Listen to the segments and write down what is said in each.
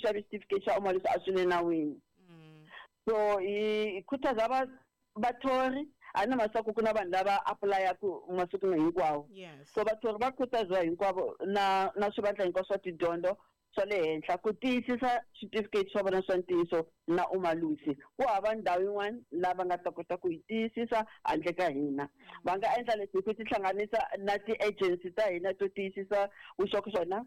xave xitifiketi xa umalusi a swi le nawini. So hi khutaza va vathori a na masiku ku na vanhu lava apulayaku masiku hinkwawo. So vathori va khutaziwa hinkwavo na swivandla hinkwaswo swa tidyondzo swa le henhla ku tiyisisa switifiketi swa vona swa ntiyiso na umalusi. Ku hava ndhawu yin'wana laha va nga ta kota ku yi tiyisisa handle ka hina. Va nga endla leswi hi ku tihlanganisa na ti-agency ta hina to tiyisisa vuxokoxoko na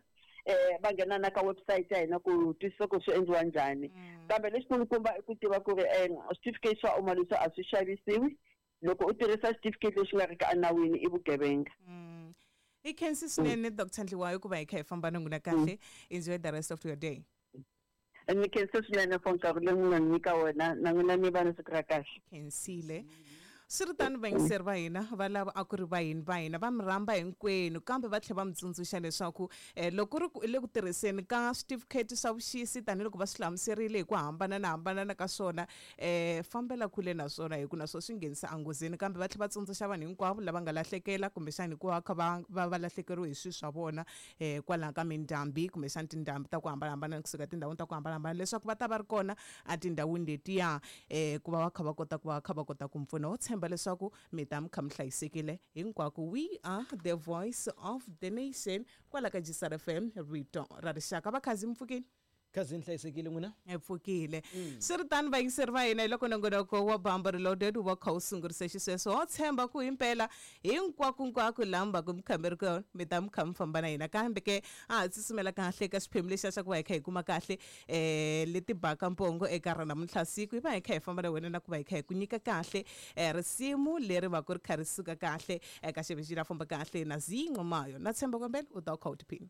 va nghena na ka website ya hina ku twisisa ku swi endliwa njhani. Kambe lexikulukumba i ku tiva ku ri switifiketi swa umalusi a swi xavisiwi. Loko u tirhisa xitifiketi lexi nga ri ki enawini i vugevenga. Hi khensi swinene Dr Ndliwayo ku va hi kha hi famba na n'wina kahle. Enjoy the rest of your day. Ni khensa swinene for nkarhi lowu mi nga ni nyika wona, na n'wina mi va na siku ra kahle. Khensile. Swi ri tano vayingiseri va hina va lava a ku ri vayini va hina va mi rhamba hinkwenu kambe va tlhela va mi tsundzuxa leswaku um loko ku ri ku i le ku tirhiseni ka switifikheti swa vuxisi tanihiloko va swi hlamuserile hi ku hambanana hambanana ka swona um fambela kule na swona hi ku na swona swi nghenisa enghozini kambe va tlhela va tsundzuxa vanhu hinkwavo lava nga lahlekela kumbexana hikuva va kha va va va lahlekeriwe hi swilo swa vona um kwalaho ka mindhambi kumbexana tindhambi ta ku hambanahambana kusuka etindhawini ta ku hambanahambana leswaku va ta va ri kona etindhawini letiya um ku va va kha va kota ku va kha va kota ku mi pfuna. Ho tshemba leswaku mi ta mi kha mi hlayisekile hinkwako. We are the voice of the nation kwala ka Gisar FM, rito ra rixaka. Vakhazi mi pfukile? Khazi ni hlayisekile n'wina? Hi pfukile. Swi ri tano vayingiseri va hina, hi loko nongonoko wa Bamba Reloaded wu va kha wu sungurise xisweswo. Ho tshemba ku himpela hinkwakunkwako laha mi va ku mi kha mi ri kona mi ta mi kha mi famba na hina. Kambe ke a ha tsutsumela kahle eka xiphemu lexiya xa ku va hi kha hi kuma kahle um leti baka mpongo eka ra namuntlha siku. Hi va hi kha hi famba na wena na ku va hi kha hi ku nyika kahle um risimu leri va ku ri kha ri suka kahle eka xivixi la famba kahle na Zee Nxumalo. Na tshemba ku u ta u kha u tiphina.